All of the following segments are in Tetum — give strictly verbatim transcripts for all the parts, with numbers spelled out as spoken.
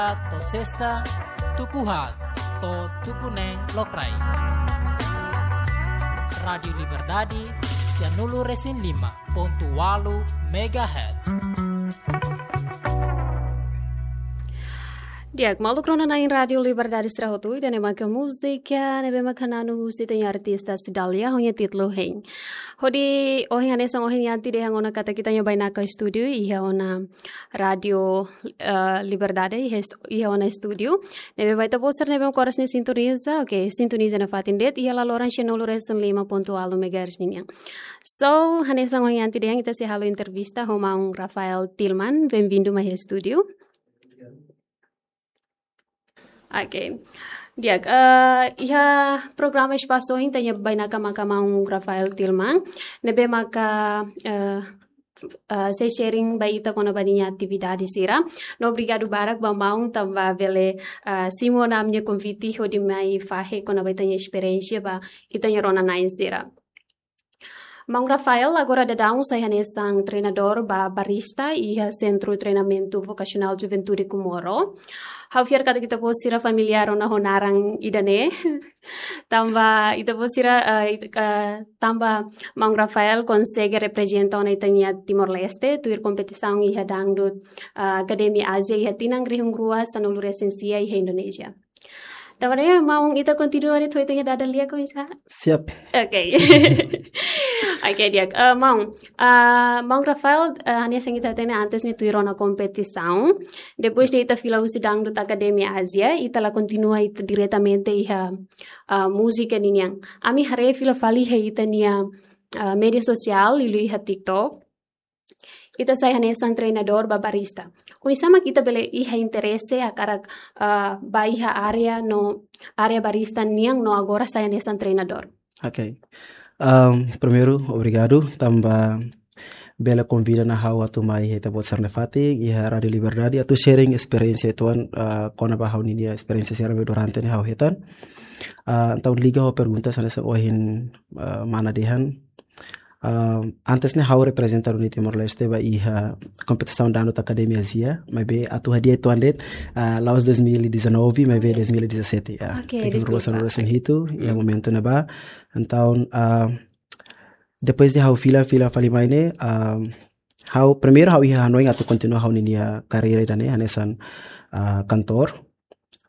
To'o sesta, tuku haat to'o tuku neen lokraik. Rádiu Liberdade, sianulu-resin-lima pontu ualu megahertz. Di'ak, maluk rona-na'in Rádiu Liberdade sira hotu, ida-ne'e maka múzika ne'ebé maka na'in husi ita-nia artista Cidalia, ho nia títulu Hein. Hodi ohin hanesan ohin iha ati dehan ona katak ita-nia bainaka estúdiu iha ona Rádiu, eh, Liberdade, iha est-, iha ona estúdiu. Ne'ebé ba ita-boot sira ne'ebé maka oras ne'e sintoniza, oke, sintoniza nafatin de'it iha laloran sianulu-resin-lima pontu ualu megahertz ninian. So, hanesan ohin ati dehan ita sei halo entrevista ho maun Rafael Tilman, bem-vindo mai iha estúdiu. Oke. Di'ak, eh, iha programa Espasu ohin ita-nia bainaka maka maun Rafael Tilman, ne'ebé maka, eh, eh, sei sharing ba ita kona-ba ninia atividade sira. No obrigadu barak ba maun tanba bele, eh, simu ona ami-nia konvite hodi mai fahe kona-ba ita-nia esperiénsia ba ita-nia rona-na'in sira. Maun Rafael, agora daudaun sai hanesan treinadór ba barista iha Sentru Treinamentu Vokasionál Juventude Comoro. Ha'u fiar katak ita-boot sira familiár ona ho naran ida-ne'e. Tanba ita-boot sira, eh, it-, eh, tanba maun Rafael konsege reprezenta ona ita-nia Timor-Leste tuir kompetisaun iha dangdut, eh, Akademia Ázia iha tinan rihun rua sanulu-resin-sia iha Indonézia. Tanba ne'e, maun, ita kontinua de'it ho ita-nia dada lia, komesa? Siap. Oke. Oke, di'ak. Eh, maun, eh, maun Rafael, eh, hanesan ita hatene antes ne'e tuir ona kompetisaun. Depois de ita fila husi dangdut Akademia Ázia, ita la kontinua ita diretamente iha, eh, múzika ninian. Ami haree fila fali iha ita-nia, eh, média sosiál, liuliu iha TikTok. Ita sai hanesan treinadór ba barista. Oinsá mak ita bele iha interese hakarak, ah, ba iha área no, área barista nian no agora sai hanesan treinadór? Oke. Ahm, primeiru, obrigadu tanba bele konvida ona ha'u atu mai iha ita-boot sira-nia fatin, iha Rádiu Liberdade, atu sharing esperiénsia uitoan, ah, kona-ba ha'u-nia esperiénsia sira ne'ebé durante ne'e ha'u hetan. Ah, entaun liga ho pergunta hanesan ohin, ah, mana dehan. Ah, antes ne'e ha'u reprezenta duni Timor-Leste ba iha kompetisaun dangdut Akademia Ázia, maibé atu hadi'a uitoan de'it, ah, la'ós dois mil e dezanove, maibé dois mil e dezassete, ya. Oke, rihun rua deskulpa. Sanulu-resin-hitu, iha momentu ne'ebá. Entaun, ah, depois de ha'u fila, fila fali mai ne'e, ah, ha'u, primeiru ha'u iha hanoin atu kontinua ha'u-nia karreira ida-ne'e, hanesan, ah, kantór.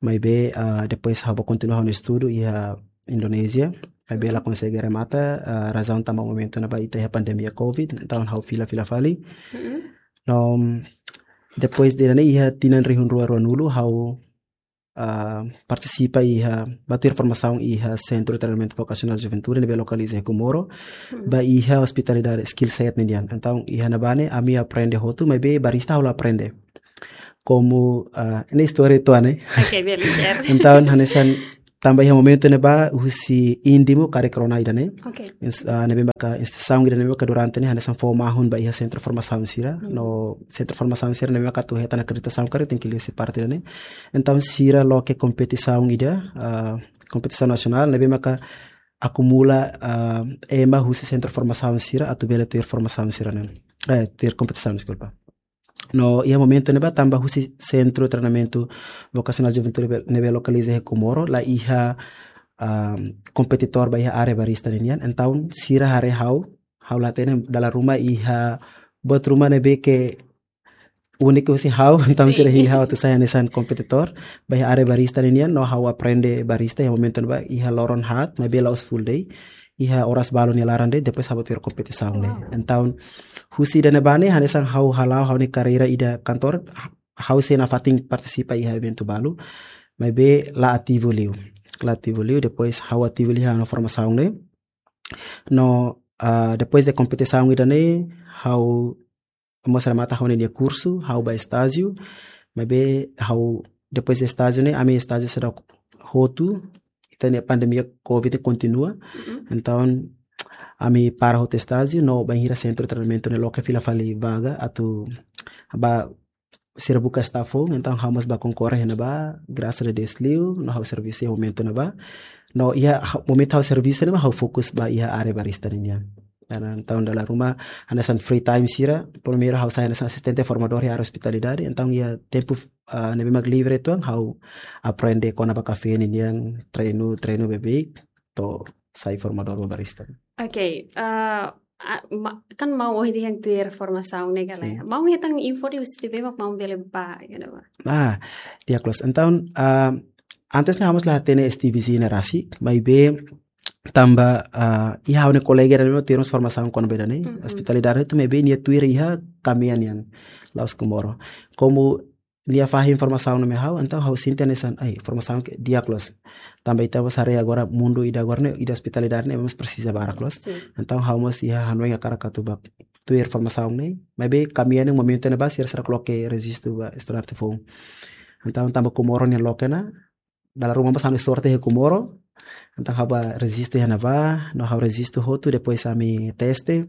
Maibé, ah, depois ha'u bá kontinua ha'u-nia estudu iha Indonézia. Maibé la konsege remata, ah, razaun tanba momentu ne'ebá ita iha pandemia covid, entaun ha'u fila, fila fali. Mm-mm. No, depois de ne'e iha tinan rihun rua ruanulu ha'u, ah, partisipa iha, bá tuir formasaun iha Sentru Treinamentu Vokasionál Juventude, ne'ebé lokaliza iha Comoro, Mm-mm. ba iha ospitalidade skill set ninian. Entaun, iha ne'ebá ne'e, ami aprende hotu, maibé barista ha'u la aprende. Komu, ah, ne'e istória uitoan, ne'e? Oke, bele share. Entaun, hanesan tanba iha momentu ne'ebá, husi INDIMU, karik rona ida-ne'e. Oke. Ins-, ah, ne'ebé maka instituisaun ida ne'ebé maka durante ne'e, hanesan fó mahon ba iha sentru formasaun sira. Hmm. No sentru formasaun sira ne'ebé maka atu hetan akreditasaun karik tenke liuhusi parte ida-ne'e. Entaun, sira loke kompetisaun ida, ah, kompetisaun nasionál, ne'ebé maka akumula, ah, ema husi sentru formasaun sira, atu bele tuir formasaun sira-ne'e. Eh, tuir kompetisaun, deskulpa. No, iha momentu ne'ebá tanba husi Sentru Treinamentu Vokasionál Juventude be-, ne'ebé lokaliza iha Comoro, la iha, ah, kompetitór ba iha área barista ninian. Entaun, sira haree ha'u, ha'u la hatene dala ruma iha buat ruma ne'ebé ke úniku husi ha'u, entaun Sin. sira hili ha'u atu sai hanesan kompetitór ba iha área barista ninian, no ha'u aprende barista iha momentu ne'ebá iha loron haat, maibé la'ós full day. Iha oras balu nia laran de'it, depois ha'u bá tuir kompetisaun ne'e. Wow. Entaun, husi ida-ne'ebá ne'e, hanesan ha'u hala'o ha'u-nia karreira ida kantór, ha-, ha'u sei nafatin partisipa iha eventu balu, maibé la ativu liu. La ativu liu, depois ha'u ativu liu iha ona formasaun ne'e. No, ah, depois de kompetisaun ida-ne'e, ha'u mós remata ha'u-nia kursu, ha'u bá estájiu, maibé ha'u, depois de estájiu ne'e, ami estájiu seidauk hotu, ita-nia pandemia covid kontinua. Mm-mm. Entaun, ami para hotu estájiu, no bainhira sentru treinamentu ne'e loke fila fali vaga, atu bá sira buka staff foun, entaun ha'u mós bá konkorre iha ne'ebá, grasas a Deus liu, no ha'u servisu iha momentu ne'ebá. No iha ha-, momentu ha'u servisu ne'e mak ha'u fokus ba iha área barista ninian. Entaun dala ruma hanesan free time sira, primeiru ha'u sai hanesan asistente formadór iha área ospitalidade, entaun iha tempu, ah, ne'ebé mak livre uitoan ha'u aprende kona-ba kafé ninian, treinu, treinu beibeik, to'o sai formadór ba barista. Ok, ah, ah, ma-, kan maun ohin dehan tuir formasaun ne'e ka lae. Sin. Maun hetan info husi ne'ebé mak maun bele bá, you know. Ah, di'ak loos. Entaun, ah, antes ne'e ha'u mós la hatene S T V C ne'e rasik, maibé tanba, ah, iha ha'u-nia kolega ida ne'ebé tuir mós formasaun kona-ba ida-ne'e, Mhm. ospitalidade hotu, maibé nia tuir iha kamian nian, la'ós Comoro. Komu nia fahe informasaun ne'e mai ha'u, entaun ha'u sente hanesan, ai, formasaun ke di'ak loos. Tanba ita mós haree agora mundu ida agora ne'e, ida ospitalidade ne'e mós presiza barak loos. Sin. Entaun ha'u mós iha hanoin hakarak atu bá tuir formasaun ne'e, maibé kamian nian momentu ne'ebá sira seidauk loke rejistu ba estudante foun. Entaun tanba Comoro nia loke ona, dala ruma mós ami sorte iha Comoro. Entaun ha'u bá rejistu iha ne'ebá, no ha'u rejistu hotu, depois ami teste,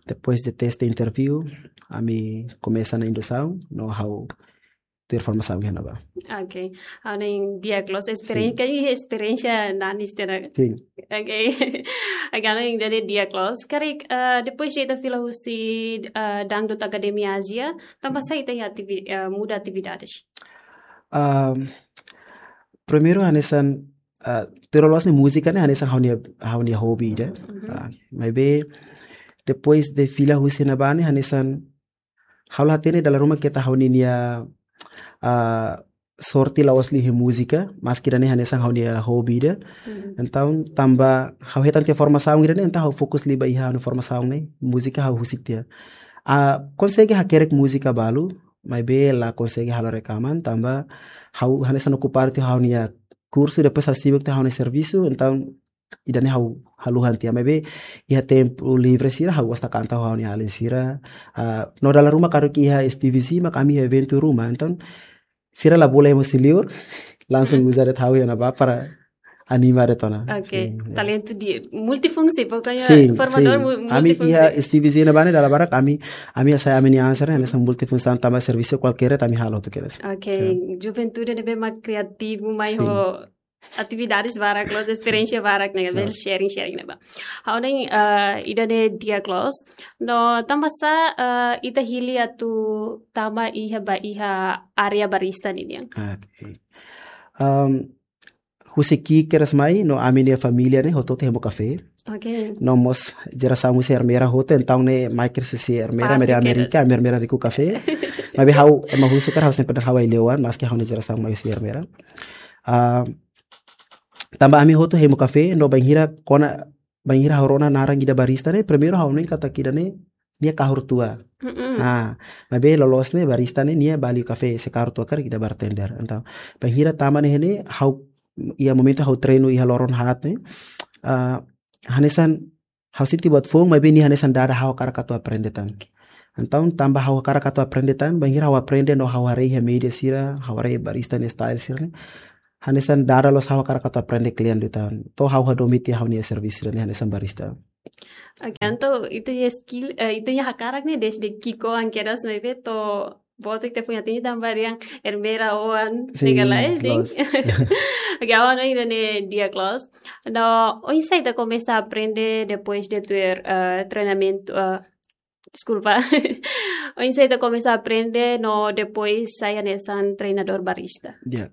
depois de teste interview, ami komesa ona indusaun, no ha'u tuir formasaun iha ne'ebá. Ok. Ha'u hanoin di'ak loos esperiénsia, Sin. Karik esperiénsia nanis tiha ona. Sin. Ok. Agora ha'u hanoin di'ak loos. Karik, eh, depois de ita fila husi, eh, Dangdut Academy Asia, tanba sá ita iha ativi-, eh, muda atividades? Ahm, primeiru hanesan, ah, tuir loloos ne'e múzika ne'e hanesan ha'u-nia, ha'u-nia hobi ida. Mhm. Ah, maibé depois de fila husi ne'ebá ne'e hanesan ha'u la hatene dala ruma keta ha'u-nia, ah, sorte la'ós liu iha múzika, maski ida-ne'e hanesan ha'u-nia hobi ida. Mhm. Entaun tanba ha'u hetan tiha formasaun ida-ne'e, entaun ha'u fokus liu ba iha ha'u-nia formasaun ne'e, múzika ha'u husik tiha. Ah, konsege hakerek múzika balu, maibé la konsege halo rekaman, tanba ha'u hanesan okupadu tiha ha'u-nia kursu, depois ha'u sibuk tiha ha'u-nia servisu, entaun ida-ne'e ha'u haluha tiha, maibé iha tempu livre sira ha'u gosta kanta ho ha'u-nia alin sira. Ah, no dala ruma karik iha S T V C mak ami iha eventu ruma, entaun sira la bolu ema husi liur, langsung Mhm. uza de'it ha'u iha ne'ebá para anima de'it ona. Ok, Sin, ya. Talentu di-, multifungsi, pokoknya Sin, formadór sin. mu-, Ami multifungsi. Iha S T V C ne'ebá ne'e dala barak ami, ami hasai ami-nia answer, hanesan multifungsi tanba servisu kualkér ami halo hotu kedas. Ok, Ya. juventude ne'ebé mak kreativu mai Sin. ho atividades barak, loos esperiénsia barak ne'e, Sin. bele sharing, sharing ne'ebá. Ha'u hanoin, eh, ida-ne'e di'ak loos. No tanba sá, eh, ita hili atu tama iha ba iha área barista ninian? Ok. Ahm, husi ki'ik kedas mai, no ami-nia família ne'e hotu-hotu hemu kafé. Ok. No mós jerasaun husi Ermera hotu, entaun ne'e mai kedas husi Ermera, Pasti Amérika, kedas. Amérika, Ermera riku kafé. Maibé ha'u, ema husu karik ha'u sempre dehan ha'u ai-lewon, maski ha'u-nia jerasaun mai husi Ermera. Ah, tanba ami hotu hemu kafé, no bainhira kona, bainhira ha'u rona naran ida barista ne'e, primeiru ha'u hanoin katak ida-ne'e, nia kahur tua. Mm-mm. Ah, maibé loloos ne'e barista ne'e, nia ba liu kafé, se kahur tua karik ida bartender. Entaun, bainhira tama ne'e ne'e, ha'u, iha momentu ha'u treinu iha loron haat ne'e, ah, hanesan ha'u sente buat foun, maibé nia hanesan dada ha'u hakarak atu aprende tan. Entaun, tanba ha'u hakarak atu aprende tan, bainhira ha'u aprende no ha'u haree iha média sira, ha'u haree barista nia style sira ne'e. Hanesan dada loos ha'u hakarak atu aprende kle'an liután. To'o ha'u hadomi tiha ha'u-nia servisu ne'e hanesan barista. Ok, entaun ita-nia skill, eh, ita-nia hakarak ne'e desde ki'ikoan kedas ne'ebé to'o boot ita foin atinje tanba dehan Ermera oan Sin, ne'e ka lae, sin. Loos. Ok, ha'u hanoin ida-ne'e di'ak loos. No, oinsá ita komesa aprende depois de tuir, eh, treinamentu, eh, deskulpa. Oinsá ita komesa aprende no depois sai hanesan treinadór barista? Ya.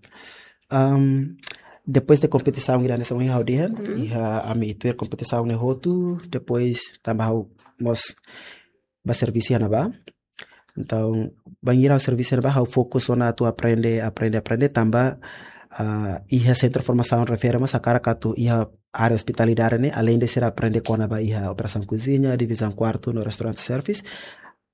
Ahm, depois de kompetisaun ida hanesan ohin ha'u dehan, Hmm. iha ami tuir kompetisaun ne'e hotu, depois tanba ha'u mós ba servisu iha ne'ebá. Entaun, bainhira ha'u servisu iha ne'ebá, ha'u fokus ona atu aprende, aprende, aprende, tanba, ah, iha sentru formasaun refere mós hakarak atu iha área ospitalidade ne'e, alende sira aprende kona-ba iha operasaun koziña, divizaun kuartu no restaurante service,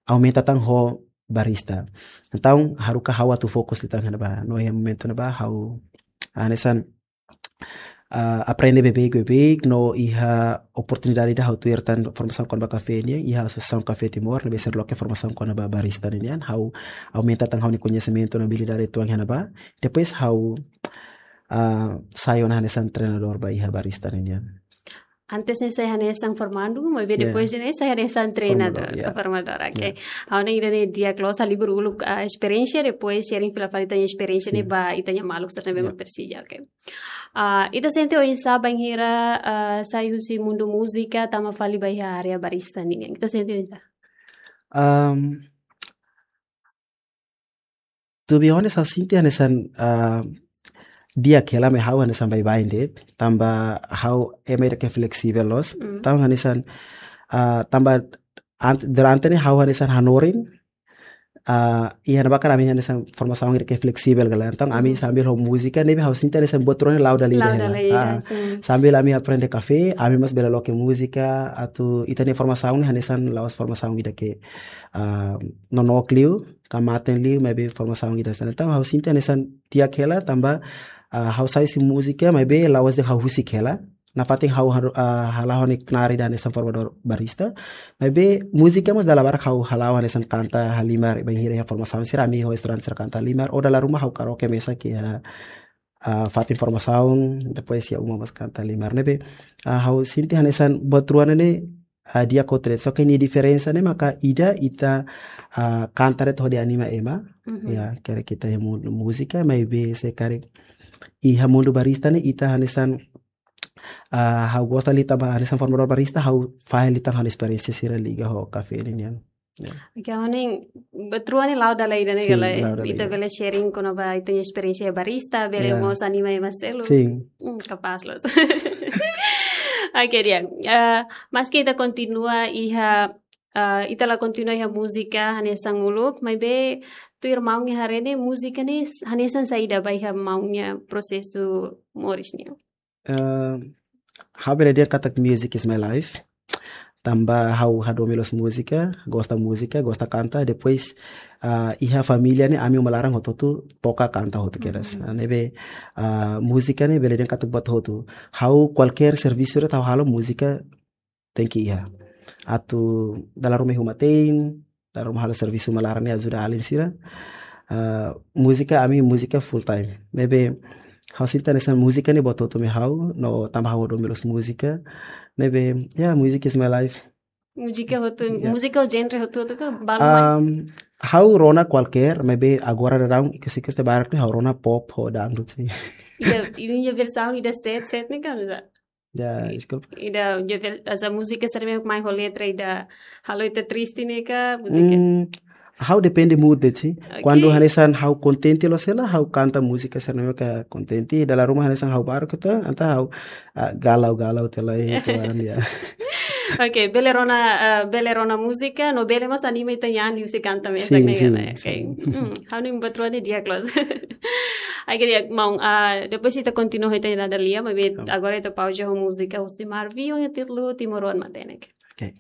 aumenta tan ho barista. Entaun, haruka ha'u atu fokus liután iha ne'ebá. No iha momentu ne'ebá, ha'u, ah, hanesan, ah, aprende beibeik, beibeik, no iha oportunidade ida ha'u tuir tan formasaun kona-ba kafé nian, iha Asosiasaun Kafé Timor, ne'ebé sira loke formasaun kona-ba barista nian, ha'u aumenta tan ha'u-nia koñesimentu no abilidade uitoan iha ne'ebá. Depois ha'u, ah, sai ona hanesan treinadór ba iha barista nian. Antes ne'e sai hanesan formandu, maibé depois ne'e sai hanesan treinadór, formadór, ya. Formadór, oke. Ha'u hanoin ida-ne'e di'ak loos, halibur uluk, ah, esperiénsia, depois sharing fila fali ita-nia esperiénsia ne'e ba ita-nia maluk sira ne'ebé mak presiza, oke. Ah, ita sente oinsá bainhira, ah, sai husi mundu múzika, tama fali ba iha área barista nian? Ita sente oinsá? Um, to be honest, ha'u sente hanesan, ah, di'ak hela, maibé ha'u hanesan baibain de'it, tanba ha'u ema ida ke fleksível loos. Mm. Entaun hanesan, ah, tanba ant-, durante ne'e ha'u hanesan hanorin, ah, iha ne'ebá karik ami hanesan formasaun ida ke fleksível ka lae. Entaun ami sambil ho múzika, ne'ebé ha'u sente hanesan buat rua ne'e la'o dala ida hela. La'o dala ida, ah, sin. Sambil ami aprende kafé, ami mós bele loke múzika, atu ita-nia formasaun ne'e hanesan la'ós formasaun ida ke, ah, nonook liu, ka maten liu, maibé formasaun ida hanesan. Entaun ha'u sente hanesan di'ak hela, tanba, ah, ha'u sai husi múzika, maibé la'ós de'it ha'u husik hela. Nafatin ha'u haru-, ah, hala'o ha'u-nia knaar ida hanesan formadór barista. Maibé múzika mós dala barak ha'u hala'o hanesan kanta halimar, bainhira iha formasaun sira ami ho estudante sira kanta halimar. Ou dala ruma ha'u karaoke mesak iha, ah, fatin formasaun, depois iha uma mós kanta halimar. Ne'ebé, ah, ha'u sente hanesan buat rua ne'e, ah, di'ak ho tret. Só ke nia diferensa ne'e maka ida ita, ah, kanta de'it hodi anima ema. Mhm. Ya, karik ita iha mu-, múzika, maibé se karik iha mundu barista ne'e ita hanesan, ah, ha'u gosta liután ba hanesan formadór barista, ha'u fahe liután ha'u-nia esperiénsia sira liga ho kafé ninian. Ya. Oke, ha'u hanoin buat rua ne'e la'o dala ida ne'e, sin, ka lae, la'o dala ita ida. Bele sharing kona-ba ita-nia esperiénsia barista, bele, ya, mós anima ema seluk. Sin. Hmm, kapás loos. Oke, di'ak. Eh, maski ita kontinua iha, eh, ita la kontinua iha múzika hanesan uluk, maibé tuir maun nia haree ne'e múzika ne'e s-, hanesan saida ba iha maun nia prosesu moris nian? Eh, ha'u bele dehan katak music is my life. Tanba ha'u hadomi loos múzika, gosta múzika, gosta kanta, depois, ah, iha família ne'e ami uma laran hotu-hotu toka kanta hotu kedas. Mhm. Ah, ne'ebé, ah, múzika ne'e bele dehan katak buat hotu. Ha'u kualkér servisu de'it ha'u halo múzika tenke iha. Atu dala ruma iha uma te'in, dala ruma halo servisu uma laran ne'e ajuda alin sira. Ah, múzika, ami múzika full time. Ne'ebé ha'u sente hanesan múzika ne'e buat hotu mai ha'u, no tanba ha'u hadomi loos múzika. Ne'ebé, ya, music is my life. Múzika hotu, ya. Múzika ou genre hotu-hotu ka balu mai? Um, ha'u rona kualkér, maibé agora daudaun ikus-ikus ita barak ne'e ha'u rona pop ho dangdut, sin. Ida, ida-nia versaun ida sét, sét ne'e ka, nusá? Ya, deskulpa. Ida, ida ver-, hanesan múzika sira ne'ebé mai ho letra ida halo ita triste ne'e ka, múzika? Hmm, ha'u depende mood de'it, sin. Oke. Kuandu hanesan ha'u kontente loos hela, ha'u kanta múzika sira ne'ebé mak kontente, dala ruma hanesan ha'u barak ita, entaun ha'u, ah, galau-galau tiha lai, tuan, ya. Oke, bele rona, eh, bele rona múzika, no bele mós anima ita-nia an liuhusi kanta mesak, sin, ne'e, sin, ne'e? Oke. Sin. Hmm, ha'u hanoin buat rua ne'e di'ak loos. Oke, di'ak, maun, ah, depois ita kontinua ho ita-nia dada lia, maibé, oh, agora ita pauza ho múzika husi Marvin, ho títulu Timoroan Matenek. Oke.